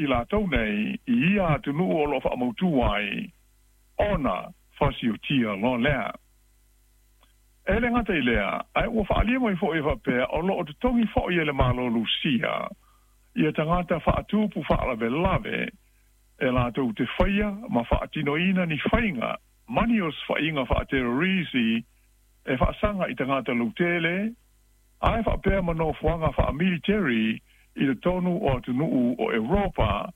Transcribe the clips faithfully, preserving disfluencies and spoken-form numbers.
i latou nei i ia atunuu o loo faamautū ai ona fasiotia loa lea. E le gata i lea, ae ua faaalia mai foʻi e faapea o loo totogi foʻi e le Malo Lusia ia tagata faatupu faalavelave e latou te faia ma faatinoina ni faiga ma ni osofaiga faaterorisi e faasaga i tagata lautele ae faapea ma nofoaga faamiliteri i totonu o atunuu o Europa.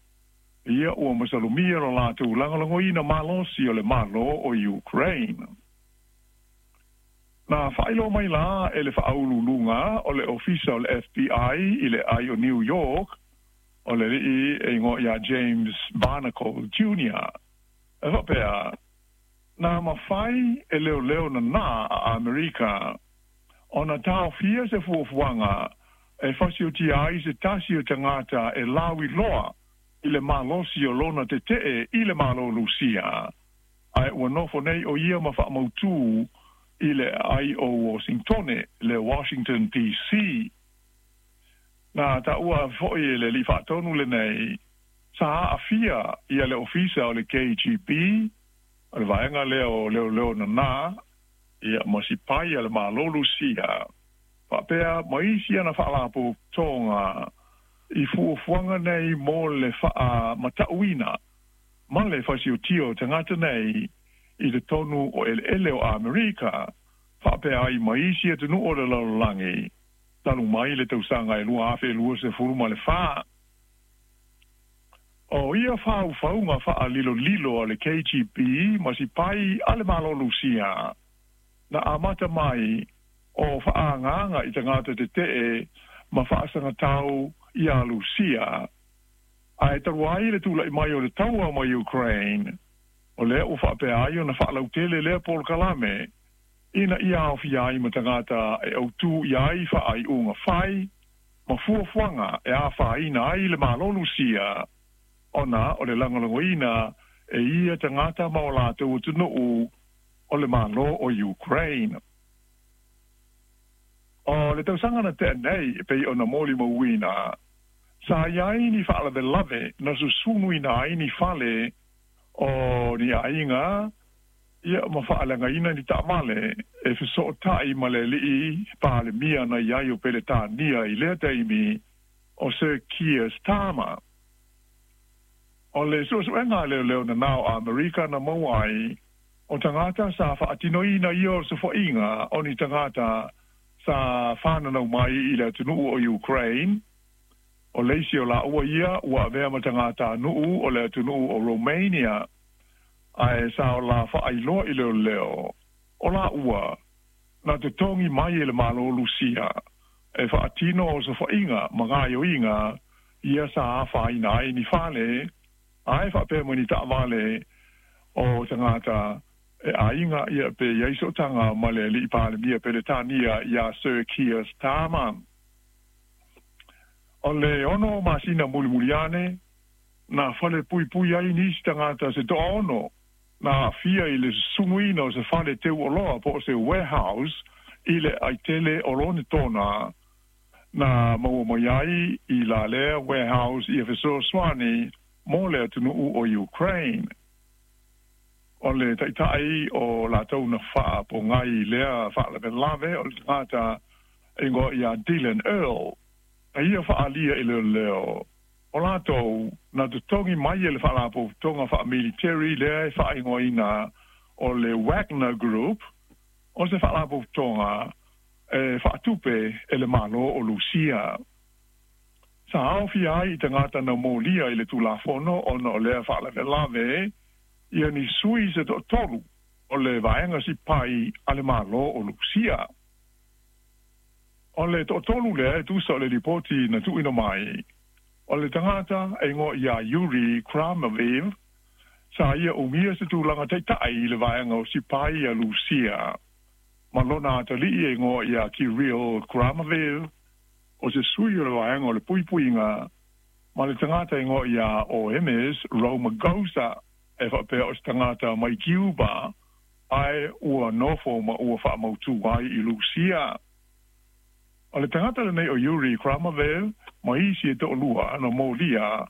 Ia ua masalomia lo latou lagolagoina malosi o le Malo o Ukraine. Na faailoa mai la e le faauluuluga o le Ofisa o le F B I i le ai o New York, o le alii e igoa ia James Barnacle Junior E faapea, na mafai e leoleo nanā a Amerika ona taofia se fuafuaga e fasiotia ai se tasi o tagata e lauiloa i le malosi o lona tetee i le Malo Lusia, ae ua nofo nei o ia ma faamautū i le ai o Washingtone, le Washington D C. Na taua foʻi e le alii faatonu lenei, sa aafia ia le ofisa o le K G B, o le vaega lea o leoleo nanā, ia ma sipai a le Malo Lusia, faapea ma isi ana faalapotopotoga i fuafuaga nei mo le faamatauina ma le fasiotia o tagata nei i totonu o eleele o Amerika, faapea ai ma isi atunuu o le lalolagi, talu mai le tausaga e lua afe lua sefulu ma le fa. O ia faufauga faalilolilo a le K G B ma sipai a le Malo Lusia, na amata mai o faaagaga i tagata tetee ma faasagatau ia Lusia, ae talu ai le tulaʻi mai o le taua ma Ukraine, o lea ua faapea ai ona faalautele lea polokalame ina ia aofia ai ma tagata e autū i ai faaiuga fai ma fuafuaga e afaina ai le Malo Lusia, ona o le lagolagoina e ia tagata ma o latou atunuu o le Malo o Ukraine. O le tausaga na tea nei e pei ona molimauina, sa iai ni faalavelave na susunuina ai ni fale o ni aiga ia ma faaleagaina ni taavale e fesootai ma le alii palemia na iai o Peletania i lea taimi o Sir Keir Starmer. O le suesuega a leoleo nanao a Amerika na maua ai o tagata sa faatinoina ia o sofoaiga o ni tagata sa fananau mai i le atunuu o Ukraine, o le isi o laua ia ua avea ma tagatanuu o le atunuu o Romania, ae sa o la faailoa i leoleo o laua na totogi mai e le Malo Lusia e faatino osofaiga ma gaioiga ia sa afaina ai ni fale ae faapea ma ni taavale o tagata e aiga ia pe iai sootaga ma le alii palemia Peletania ia Sir Keir Starmer. O le ono masina mulimuli ane na fale puipui ai nisi tagata se toaono na aafia i le susunuina o se fale teuoloa po o se warehouse i le aitele o Lonetona na maua mai ai i la lea warehouse ia fesoasoani mo le atunuu o Ukraine. O le taitai o latou na faapogai lea faalavelave o le tagata e igoa ia Dylan Earl, na ia faaalia i leoleo o latou na totogi mai e le faalapotopotoga faamiliteri lea e faaigoaina o le Wagner Group, o se faalapotopotoga e faatupe e le Malo o Lusia. Sa aofia ai i tagata na molia i le tulafono ona o lea faalavelave ia ni sui se toatolu o le vaega sipai a le Malo o Lusia. O le toatolu lea e tusa o le lipoti na tuuina mai, o le tagata e igoa ia Yuri Kramaviv, sa ia umia se tulaga taitai i le vaega o sipai a Lusia, ma lona atalii e igoa ia Kirill Kramaviv, o se sui o le vaega o le puipuiga, ma le tagata e igoa ia Oemes Romagosa, e faapea o se tagata mai Cuba, ae ua nofo ma ua faamautū ai i Lusia. O le tagata lenei o Yuri Kramavev ma isi e toalua na molia